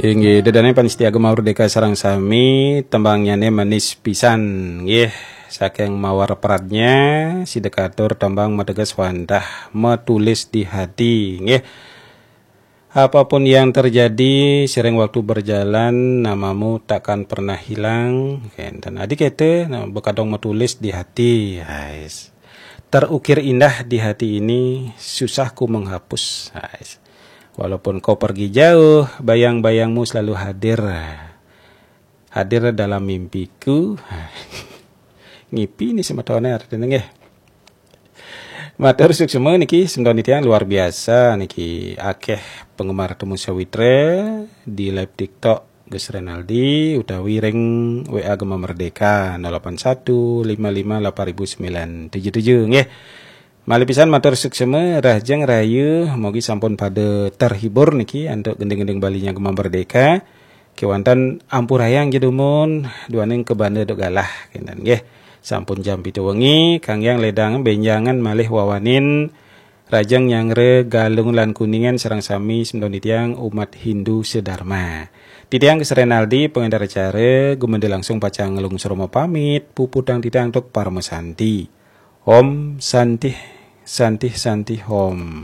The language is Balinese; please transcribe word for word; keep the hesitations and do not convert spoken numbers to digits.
Inggih, ida dané pamiarsa Gema Merdeka sareng sami, tembangnyané manis pisan, nggih. Saking mawar pradnya, sida katur tembang mateges wantah metulis di hati, nggih. Apapun yang terjadi, sering waktu berjalan, namamu takkan pernah hilang. Kénten. Adi kéto, nah, bekadang metulis di hati. Ais. Terukir indah di hati ini, susah ku menghapus. Ais. Walaupun kau pergi jauh, bayang-bayangmu selalu hadir. Hadir dalam mimpiku. Ngipi ni semetoné artiné nggih. Matur suksma niki, semeton titiang, luar biasa niki, akéh penggemar Temu Sawitra di live TikTok Gus Renaldi utawi ring W A Gema Merdeka nol delapan satu lima lima delapan ribu sembilan tujuh tujuh, nggih. Malih pisan matur suksma, rahajeng rahayu, mugi sampun pada terhibur niki antuk gending-gending Balinya Gema Merdeka. Kéwanten ampurayang ja dumun, duaning kabanda duk galah, kénten nggih. Sampun jam pitu wengi, kanggéang ledang bénjangan malih wawanin rahajeng nyanggra Galungan lan Kuningan sareng sami semeton titiang umat Hindu sedarma. Titiang Gus Renaldi, pangénter acara, gumanti langsung pacang nglungsur mapamit, puputang titiang antuk parama santi. Om Santih, Santih, Santih Om.